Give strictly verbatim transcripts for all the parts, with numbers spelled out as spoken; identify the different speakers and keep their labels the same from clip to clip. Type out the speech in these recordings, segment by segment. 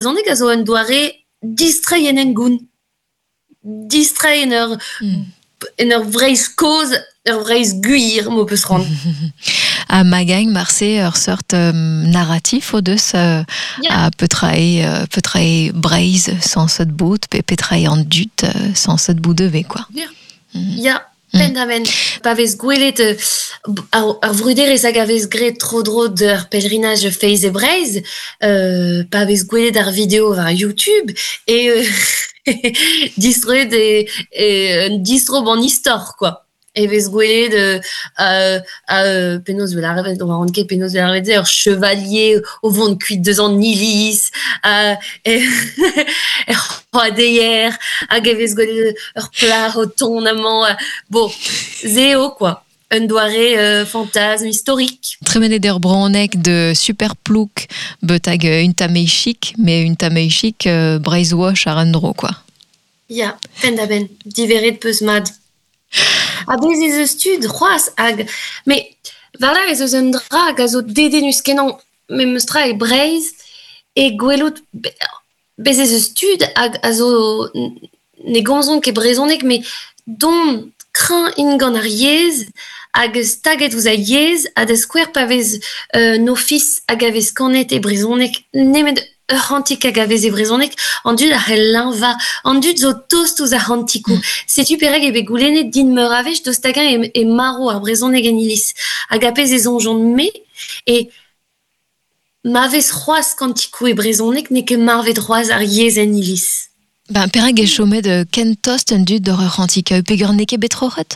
Speaker 1: Brezhoneg a zo un doare distreiñ en hengoun. Distreiñ en ur, mm. en ur Vreizh kozh, ur Vreizh gwir, m'ho peus c'hoant.
Speaker 2: Ha magañ marse ur seurt um, narratif o deus uh, yeah. a petra eo, uh, petra eo Breizh sañset bout, pe petra eo an dud uh, sañset bout ivez, quoi.
Speaker 1: Yeah. Mm. Ya, penn-da-benn. Pa vez gwelet euh, ar, ar vruderezh hag a vez graet tro-dro d'ur pèlerinaj Feiz e Breizh, euh, pa vez gwelet ar video war YouTube, e euh, distroet e, e un distro ban istor, quoi. E vez gwelet euh, euh, euh, penaos vel arvet, on ket penaos vel arvet ur chevalier o vont kuit deus an iliz, euh, e, er c'hoadeier, hag e vez gwelet ur plac'h o tont amañ, bon, se eo, quoi. Un doare euh, fantasme historique.
Speaker 2: Tremenet ur bronneg de super plouk betag un tamei chic, mais un tamei chic euh, Breizh wash ar un dro, quoi.
Speaker 1: Ya, penn-da-benn, diveret peus mat. Ha bez ez eus tud c'hoazh hag... Mais war ez eus un dra hag a zo dedennus kenañ memes tra e Breizh e gwelout... Bez ez eus tud hag a zo ne gomzont ket brezhoneg, mais dont kreñv int gant ar yezh hag staget ouzh ar yezh ha da skouer pa vez euh, un ofis hag a vez kanet e brezhoneg nemet ur c'hantik hag a vez e brezhoneg, an dud a c'hell leñvañ, an dud zo tost ouzh ar c'hantikoù. Mm. Setu perak eo bet goulennet din meur a wech daoust hag-eñ e, e marv ar brezhoneg en iliz. Hag a pezh e soñjont-me e ma vez c'hoazh kantikoù e brezhoneg n'eo ket marvet c'hoazh ar yezh en iliz.
Speaker 2: Ben, perak e chomet euh, ken tost an dud d'ur c'hantik peogwir n'eo ket bet troc'het?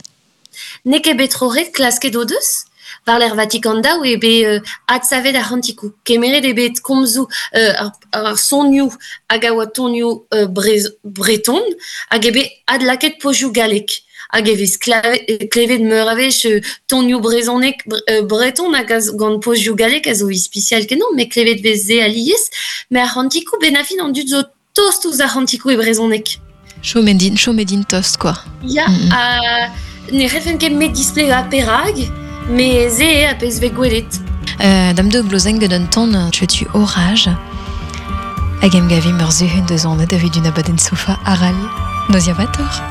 Speaker 1: N'eo ket bet troc'het klasket o deus. War l'er Vatikan daou eo bet euh, adsavet ar c'hantikoù. Kemeret eo bet komzoù euh, ar, ar sonioù hag a oa tonioù euh, brez, breton hag eo bet adlakaet pozioù gallek. Hag e vez klevet meur a wech euh, tonioù brezhoneg euh, breton hag a gant pozioù gallek a zo ispisial kenañ, mais klevet vez se alies. Mais ar c'hantikoù ben a fin an dud zo tost ouzh ar c'hantikoù e brezhoneg.
Speaker 2: Chomet int, chomet int tost, quoi.
Speaker 1: Ya, mm -hmm. uh, ne c'hellfen ket met displegañ perak, mais se eo a pezh vez gwelet.
Speaker 2: Euh, dam de glozenn gant un ton tu orage. Hag em gavim ur zehun deus an evit un abadenn sofa aral. Noz vator.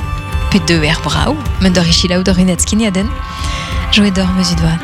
Speaker 2: Pe deux er brao, men d'ur ichilaou d'ur unat skiniaden. Joet d'or meus vat.